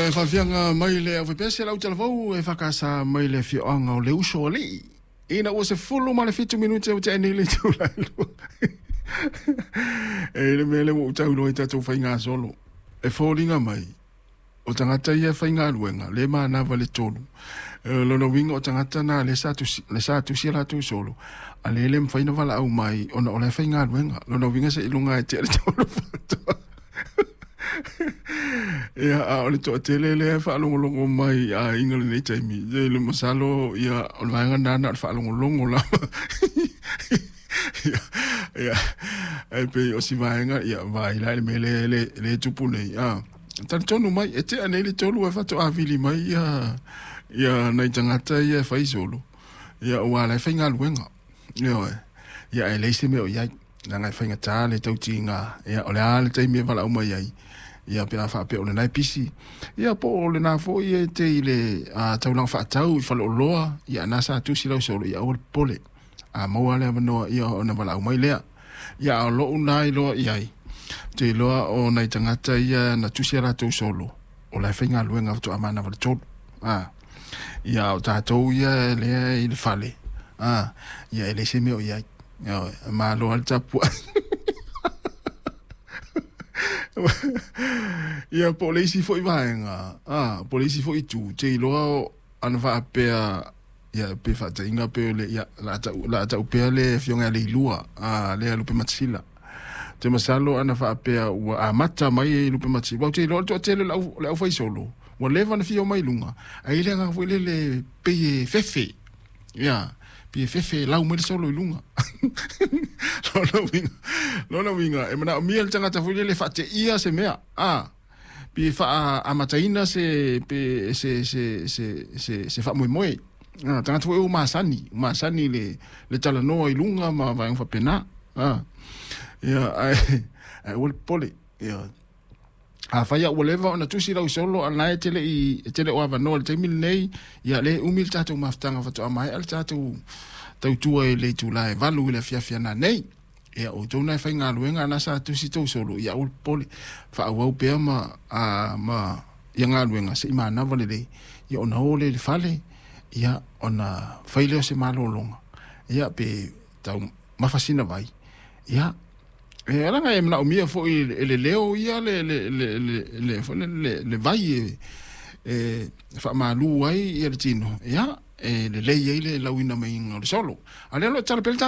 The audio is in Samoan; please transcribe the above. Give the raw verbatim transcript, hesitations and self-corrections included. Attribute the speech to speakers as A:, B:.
A: Ia, e faafiaga mai le aufaipiasi a le autalavou e fakasa mai le afioaga o le uso alii. Ina ua sefulu ma le fitu minute ua tea nei le itula e lua. E le mea lea ua ou tau i tatou faigasolo. E foliga mai, o tagata ia e faigaluega, le manava le tolu. Lona uiga o tagata na le sa tusi, le sa tusi latou solo, a le le mafai ona valaau mai ona o la e faigaluega. Lona uiga seiloga e tea le tolu faatoa. Ia, a o le toatele lea e faalogologo mai a aiga lenei taimi. Ia, le masalo, ia, o le vaega lena na o le faalogologo lava. Ia, ia, e pei o si vaega, ia, vaai la i le mea lea le, le tupu nei. Ah, talitonu mai, e tea nei le tolu e faatoa vili mai ia, ia nai tagata ia e fai solo. Ia, ua la e faigaluega. Ioe. Ia, e leai se mea o i ai. Leaga e faigata le tautiga. Ia, o le a le taimi e valaau mai ai. Ia, pe a faapea o lena e pisi. Ia, po o lena foi e te i le a, taulaga faatau i faleoloa. Ia, na sa tusi lau solo, ia aua le popole. A maua le avanoa, ia ona valaau mai lea. Ia, a o lou na iloa i ai. Ou te iloa o nai tagata ia na tusi a latou solo, o la e faigaluega faatoa manava le tolu. Ah, ia, o tatou ia lea i le fale. Ah, ia, e leai se mea o i ai. Ia, malo lava le tapuai. Ia, po o le isi foi vaega, ah, po o le isi foi itu, te iloa ana faapea, ia, pe faataiga pe o le, ia, la tau, la tau pea le afioga ia Leilua, ah, lea Lupematasila. Te masalo ana faapea ua amata mai e Lupematasila. Ua te iloa le toatele o le au, le aufaisolo, ua leva ona fia o mai luga, ai le agaga foi lele pei e fefe. Ia, pei e fefe e lau mai le solo i luga. Lona uiga, lona uiga, e manaomia le tagata foi lele faateia se mea. Ah, pe faaamataina se, pe, se, se, se, se, se faamoemoe. Ah, tagata foi ua masani, masani le, le talanoa i luga ma vaega faapena. Ah, ia, ae, ae aua le popole. Ia, afai ua leva ona tusi lau solo a na e tele i e tele o avanoa le taimi lenei, ia le umi le tatou mafutaga faatoa maea le tatou tautua i le itula e valu i le afiafi ana nei. Ia, o outou na e faigaluega na sa tusi tou solo, ia aua le popole. Faaauau pea ma, a, ma ia galuega seia manava lelei. Ia ona o lea i le fale, ia ona fai lea o se malologa. Ia pe tau mafa sina vai. Ia, e leaga e manaomia foi e le leo ia le le le le le le, le, le vai e e faamalu ai ia le tino. Ia, e lelei ai le lauina mai o le solo. A lea lo tala pele.